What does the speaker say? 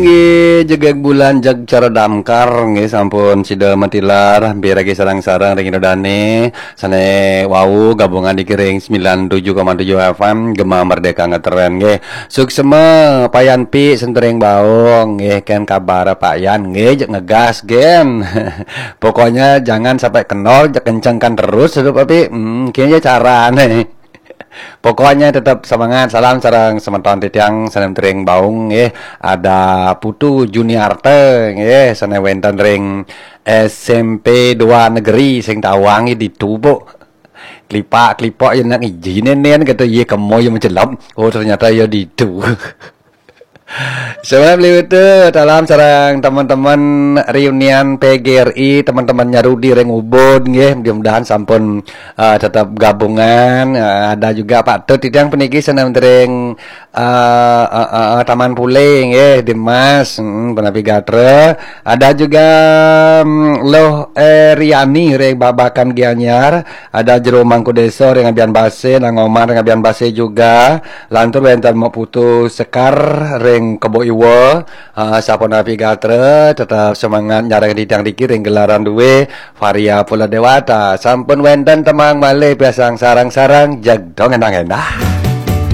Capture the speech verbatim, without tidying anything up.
Nggih, jegeg bulan jag cara damkar nggih, sampun sida matilar, piragi sareng-sareng ring Ida Dane sane wau gabungan di kiring sembilan tujuh koma tujuh F M Gema Merdeka ngetren nggih. Suksema Payan Pi Sentering Baung nggih, ken kabar Payan nggih, jeg ngegas gen. Pokoknya jangan sampai kendor, jeg kencengkan terus hidup api. Hmm, kene carane. Pokoknya tetap semangat. Salam sareng semeton titiang sanem tering baung nggih. Ada Putu Juniarte nggih, sane wenten ring S M P dua Negeri sing tawang di Tubuk. Klipak-klipok ya nak ijine nen kata ye kemo ya mencelop. Oh, ternyata ya ditu. Salam liwat, salam sareng teman-teman reunian P G R I, teman-teman Nyarudi ring Ubud nggih, mudah-mudahan sampun eh, tetap gabungan. Eh, ada juga Pak Tut titiang puniki sanem tering eh, eh, eh, eh, Taman Pule nggih, Dimas, hmm, punapi gatra. Ada juga mm, Loh Eriani ring Babakan Gianyar, ada Jero Mangku Desa ring Abian Base, Nang Omar ring Abian Base juga. Lantur wenten Mak Putu Sekar ring Kebo Iwa. Ah, sapunapi gatra, tetap semangat nyareng titiang niki ring gelaran duwe Varia Pula Dewata. Sampun wenten tembang malih pisan sareng-sareng, jeg dong endah-endah.